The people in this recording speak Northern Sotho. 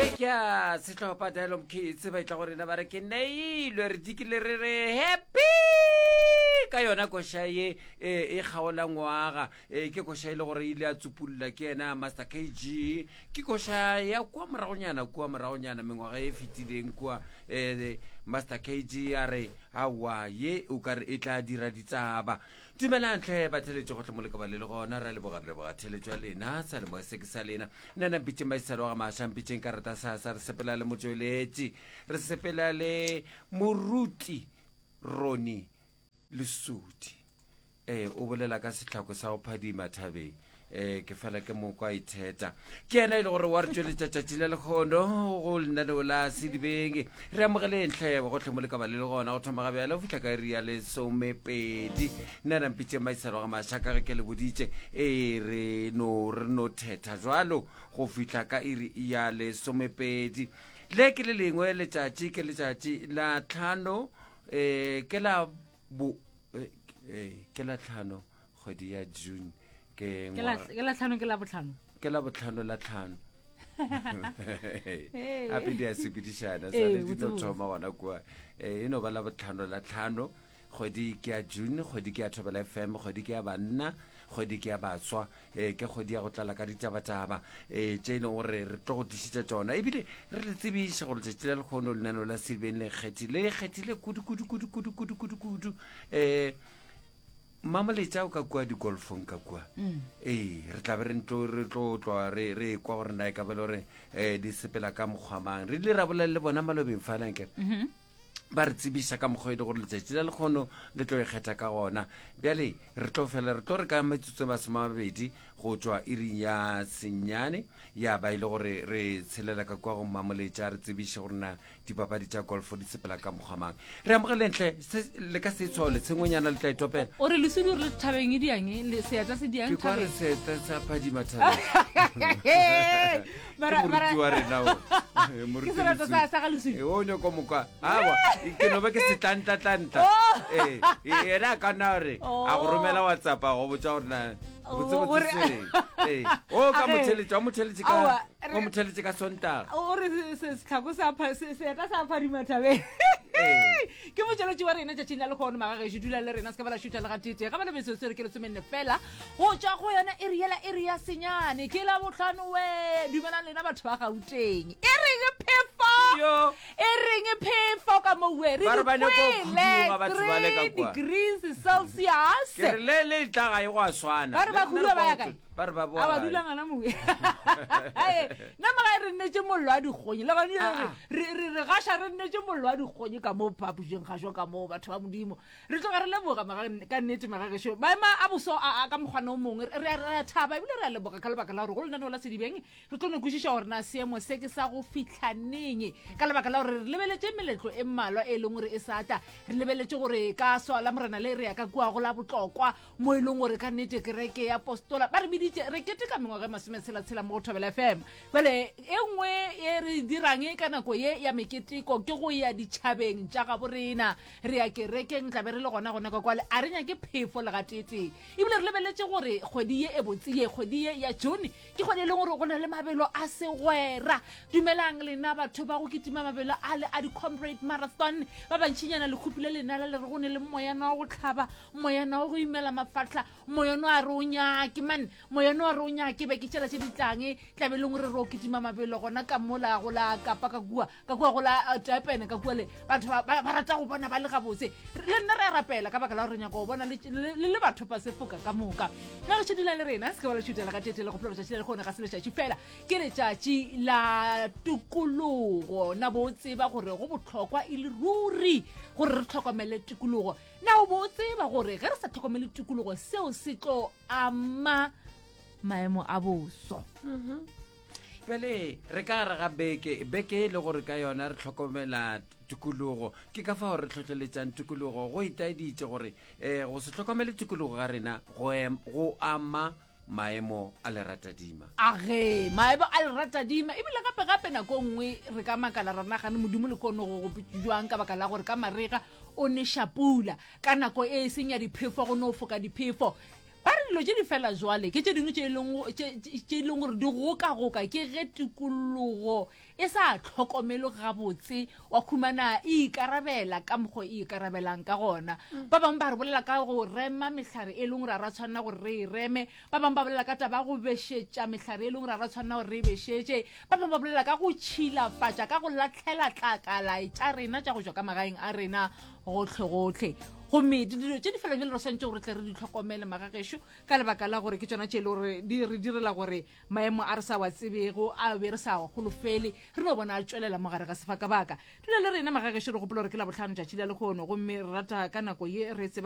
Ye ke ya sehlopha Dialog Kids ba etla go rena ba re ke neilwe re dikile re re happy ka yona koša ye e e kgaola ngwaga e ke koša e le gore ile ya tsupulla ke yena Master KG ke koša ya kua moragonyana kua moragonyana mengwaga e fetileng kua eh, Master KG a re aowa ye o ka re e tla dira ditsaba Dumelang tlhe batheletši gohle mo le ka ba le le gona. Re a leboga, re leboga theletšo ya lena, seyalemoya se ke sa lena. Nna na mpitšeng Maisalo ga Maša, mpitšeng ka rata sasa. Re sepela le motšweletši, re sepela le moruti Ronnie Lesudi. Ee, o bolela ka sehlako sa go phadima thabeng. Ee, ke fela ke mo kwa itheta. Ke yena e le gore wa re tšweletša tšatši la lekgono go lenaneo la Sedibeng. Re amogeleng hle gohle mo le ka ba le le gona go thoma ga bjale go fihla ka iri ya lesomepedi. Nna nampitše Maiselo ga Maša ka ge ke le boditše. Ee, re no re no thetha jwalo go fihla ka iri ya lesomepedi. Le ke le lengwe letšatši, ke letšatši la tlhano, ee, ke la bo, ee, ke la tlhano kgwedi ya June. Ke Ke la ke la tlhano ke la botlhano. Ke la botlhano la tlhano. Gape di a sepedišana swane di no thoma gona kua. E no ba la botlhano la tlhano. Kgwedi ke ya June, kgwedi ke ya Thobela FM, kgwedi ke ya banna, kgwedi ke ya baswa, e ke kgwedi ya go tlala ka ditabataba e tše e leng gore re tlo go tlišetša tšona ebile re le tsebiše gore letšatši la lekgono lenaneo la Silibeng le kgethile le kgethile kudu kudu kudu kudu kudu kudu kudu um Mmamoletša o ka kua digolfong ka kua. Mm. Ee, re tla be re ntlo re tlo tlwa re re kwa gore na e ka ba le gore eh di sepela ka mokgwa mang. Re ile ra bolela le bona malobeng fa lanke. Mm -hmm. Ba re tsebiša ka mokgwa e le gore letšatši la lekgono le tlo ikgetha ka gona. Bjale re tlo fela re tlo re ka metsotso e masomamabedi go tšwa iring ya senyane ya ba e le gore re tshelela ka kua go Mmamoletša re tsebiše gore na dipapadi tša golfo di sepela ka mokgwa mang re amogelentle le ka se tshwao letshengwenyana le tla itopela o re lesudi re le thabeng e diang e, seeta se diang ke kwa re seeta sa phadima thabeng moruti wa rena o ke sereto sa sa ga lesudi o nyoko mokwa awa ke no ba ke setlantatlanta oh. ee yena a ka nna gore a go romela whatsapp a go botsa gore na botsebotse ee o ka motheletše wa motheletše ka o motheletše ka sontaga o re setlhako seeta sa phadima thabeng ke motšweletši wa rena tšatšing la lekgono magagešo dula le rena se ka ba la šutha le gatete ga ba le metsotso re ke lesomenne fela go tšwa go yona e re yela e re ya senyane ke la botlhano we dumelang lena batho ba gauteng e reng phefo e reng phefo ka mowe re dikwele 3 degrees celsius ke re le le tla ga e go a swana ba re ba khudua ba ya kae ba re ba boa a ba dula ngana mowe nna magae re nnetse mollo wa dikgonyi le gone ah, ah. re re gaša re nnetse mollo wa dikgonyi ka mo phapošeng gašo ka moo batho ba modimo re tloga re leboga ka nnete magagešo maema a boso a ka mokgwana o mongwe re a thaba ebile re a leboga ka lebaka la gore go lenaneo la sedibeng re tlo no kwešiša gore na seemo se ke sa go fihla neng ka lebaka la gore re lebeletše meletlo e mmalwa e leng gore e sa tla re lebeletše gore ka swa la morena le re ya ka kua go la botlokwa mo e leng gore ka nnete kereke ya postola ba re biditše re keteka mengwaga e masometshela-tshela mo go thobela fm jale e nngwe e re dirang ka nako ye ya meketeko ke go ya ditšhabeng tša gabo rena re ya kerekeng tlabe re le gona gona ka kwale a re nyake phefo le gateetee ebile re lebeletše gore kgwedi ye e botse ye kgwedi ye ya june Ke kgwedi e leng gore go na le mabelo a segwera. Dumelang lena batho ba go kitima mabelo a le a di-comrade marathon. Ba bantšinyana le khupile lenala le re go ne le moyana wa go hlaba, moyana wa go imela mafahla, moyana wa re o nyake man, moyana wa re o nyake beke tšela tše di tlang tlabe e leng gore re o kitima mabelo gona ka mola go la Kapa ka kua. ka kua go la eh, Durban ka kua le batho ba ba rata go bona ba le gabotse le nna re a rapela ka baka la gore nyaka go bona le le batho ba sefoka ka moka na re šedula le rena se ke ba le šutela ka tete le go phela letšatši la lekgone ga se letšatši fela ke letšatši la tokologo na bo tseba gore go bohlokwa e le ruri gore re tlhokomele tikologo na o bo tseba gore ge re sa tlhokomele tikologo seo se tlo ama maemo a boso mm -hmm. Pele re ka gare ga beke, beke e le gore ka yona re hlokomela tikologo. Ke ka fao re hlohleletšang tikologo. Go itaeditše gore um go se hlokomele tikologo ga rena go, go ama maemo a leratadima. Age, maemo a leratadima. Ebile gape gape nako nngwe re ka makala ra nagane Modimo le kono go go jwang ka baka la gore ka marega o neša pula, ka nako e e seng ya diphefo go no foka diphefo. Ba re dilo tše di fela jwale ke tše dingwe tše e leng tše tše e leng gore di gokagoka ke ge tikologo e sa hlokomelwe gabotse wa khumana e ikarabela ka mokgo e ikarabelang ka gona. Ba bangwe ba re bolela ka go rema mehlare e leng gore ga ra tshwanela gore re e reme, ba bangwe ba bolela ka taba ya go bešetša mehlare e leng gore ga ra tshwanela gore re e bešetše, ba bangwe ba bolela ka go tšhilafatša ka go lahlela tlakala tša rena tša go tšwa ka magaeng a rena gohlegohle. Gomme dilo tše di fela bjale re swanetše gore tle re di hlokomele magagešo ka lebaka la gore ke tšona tše e le gore di re direla gore maemo a re sa wa tsebego a be re sa wa holofele re no bona a tšwelela mo gare ga sefakabaka. Dula le rena magagešo re gopola gore ke Labohlano tšatši la lehono gomme re rata ka nako ye re tseba.